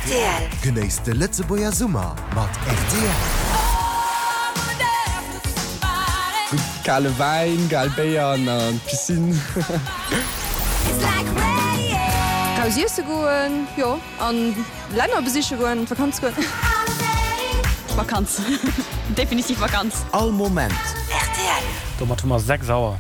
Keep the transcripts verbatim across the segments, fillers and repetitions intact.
Rtl. Genéisst de Lëtzebuerger Summer mat rtl. Kale Wäin, kal Béier an an d'Piscine. Raus iesse goen, jo, an Länner besiche goen, Vakanz goen. Vakanz. Definitiv Vakanz. All Moment. Rtl. Domat hu mer sechs Auer.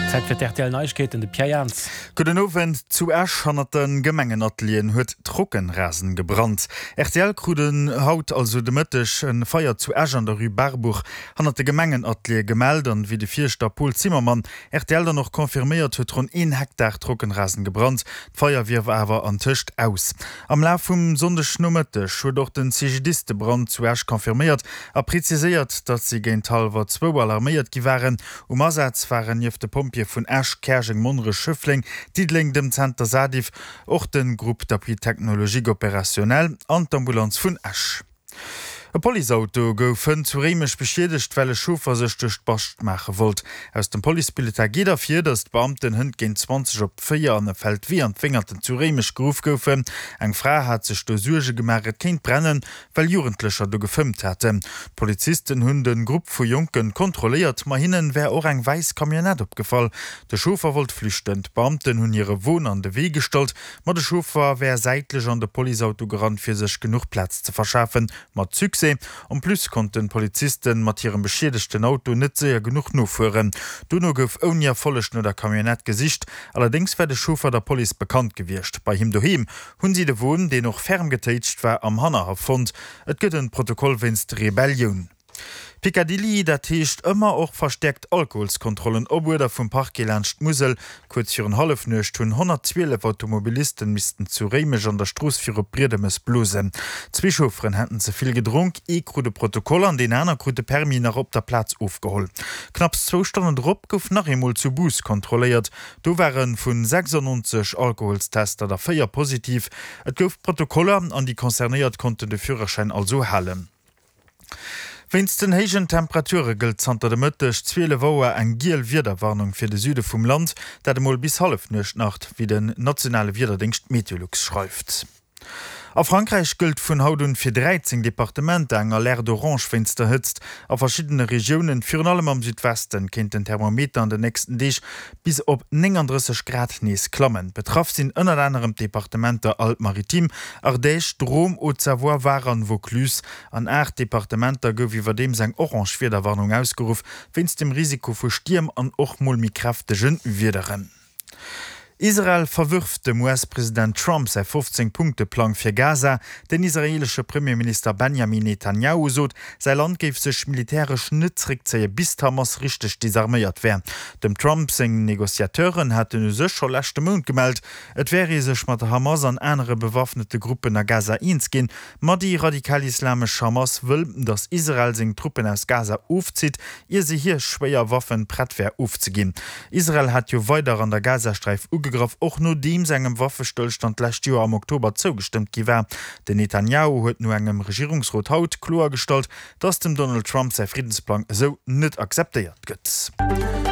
Zäit fir d'RTL Neiegkeeten, de Pierre Jans. Gudden Owend. Zu Esch hannert de Gemengenatelieren huet Trockenrasen gebrannt. Rtl krut en haut, also de Mëtteg, e Feier zu Esch an der Rue Barbour hannert de Gemengenateliere gemellt. An wéi de Fierschter Paul Zimmermann rtl dann och confirméiert huet, ronn een Hektar Trockenrasen gebrannt. D'Feier wier awer antëscht aus. Am Laf vum Sonndegnomëtteg huet och den C G D I S de Brand zu Esch confirméiert a preziséiert, datt si géint hallwer zwou alarméiert gi waren. Um Asaz waren nieft de Pompjeeë vun Esch, Käerjeng, Monnerech, Schëffleng, Diddeleng, dem Zenter Sadif och de Groupe d'appui technologique opérationnel an d'Ambulanz vun Esch. E Policeauto gouf hënt zu Réimech beschiedegt, well e Chauffer sech duerch d'Bascht maache wollt. Aus dem Policebulletin geet ervir, datt d'Beamten hënt géint zwanzeg op véier an e Feldwee an d'Wéngerten zu Réimech geruff goufen. Eng Fra hat sech do Suerge gemaach, et kéint brennen, well Jugendlecher do gefëmmt hätten. D'Polizisten hunn de Grupp vu Jonke kontrolléiert, ma hinnen wär och eng wäiss Camionnette opgefall. De Chauffer wollt flüchten, d'Beamten hunn hire Won an de Wee gestallt, ma de Chauffer wär säitlech an de Policeauto gerannt, fir sech genuch Plaz ze verschafen. Mat Succès. En plus konnten d'Polizisten mat hirem beschiedegten Auto net séier genuch nofueren. Dono gouf ouni Erfolleg no der Camionnette gesicht, allerdéngs wär de Chauffer der Police bekannt gewiescht. Bei him doheem hunn si de Won, deen och ferm getéitscht war, am Hannerhaff fonnt. Et gëtt en Protokoll wéinst Rebellioun. Picadilly, dat heescht ëmmer och verstäerkt Alkoholskontrollen op Uerder vum Parquet laanscht d'Musel. Kuerz virun Hallefnuecht hunn honnertzwielef Automobilisten missten zu Réimech an der Strooss viru Briedemes blosen. Zwee Chaufferen hätten ze vill gedronk, ee krut e Protokoll an deen aner krut de Permis nach op der Plaz ofgeholl. Knapps zwou Stonnen drop gouf nach eemol zu Bous kontrolléiert. Do ware vu sechsundneunzeg Alkoholstester der véier positiv. Et gouf Protokoller an déi Concernéiert konnten de Führerschäin also halen. Wéinst den héijen Temperature gëllt zanter de Mëtteg zwielef Auer eng giel Wiederwarnung fir de Süde vum Land, dat emol bis Hallefnuecht nach, wéi den nationale Wiederdéngscht Meteolux schreift. A Frankräich gëllt vun haut un fir dräizéng Departementer eng Alerte orange wéinst der Hëtzt. A verschiddene Regiounen, virun allem am Südwesten, kéint den Thermometer an den nächsten Deeg bis op nénganddrësseg Grad nees klammen. Betraff sinn ënnert anerem d'Departementer Alpes-Maritimes, Ardèche, Drôme, Haute-Savoie, Var an Vaucluse. An aacht Departementer gouf iwwerdeems eng orange Wiederwarnung ausgeruff, wéinst dem Risiko vu Stierm an och mol méi kräftege Wiederen. Israel verwërft dem U S-President Trump säi fofzéng Punkte-Plang fir Gaza. Den israeelesche Premierminister Benjamin Netanjahu sot, säi Land géif sech militäresch net zeréckzéie bis d'Hamas richteg desarméiert wär. Dem Trump seng Negociateuren haten u sech scho leschte Mount gemellt, et wär ee sech mat der Hamas an anere bewaffnete Gruppen a Gaza eens ginn. Ma déi radikal-islamesch Hamas wëll, datt Israel seng Truppen aus Gaza ofzitt, ier se hir schwéier Waffen prett wär ofzeginn. Israel hat jo weider an der Gazasträif ugegraff, och nodeems engem Waffestëllstand d'lescht Joer am Oktober zougestëmmt gi war. Den Netanjahu huet no engem Regierungsrot haut kloergestallt, datt dem Donald Trump säi Friddensplang esou net akzeptéiert gëtt.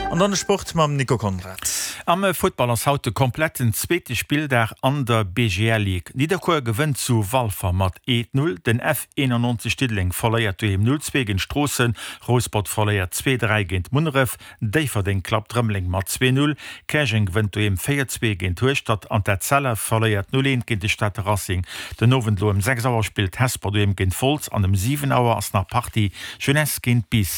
An dann de Sport mam Nico Conrad. Am Futtball ass haut de kompletten zweete Spilldag an der B G L Ligue. Nidderkuer gewënnt zu Walfer mat eent null, den F eenannonzeg Diddeleng verléiert doheem null zwee géint Stroossen, Rouspert verléiert zwee dräi géint Munneref, Déifferdeng klappt Rëmeleng mat zwee null, Käerjeng gewënnt doheem véier zwee géint Hueschtert an d'Etzella verléiert null eent géint de Stater Racing. Den Owend elo ëm sechs Auer spillt Hesper doheem géint Wolz an ëm siwen Auer ass nach Partie Jeunesse géint Biissen.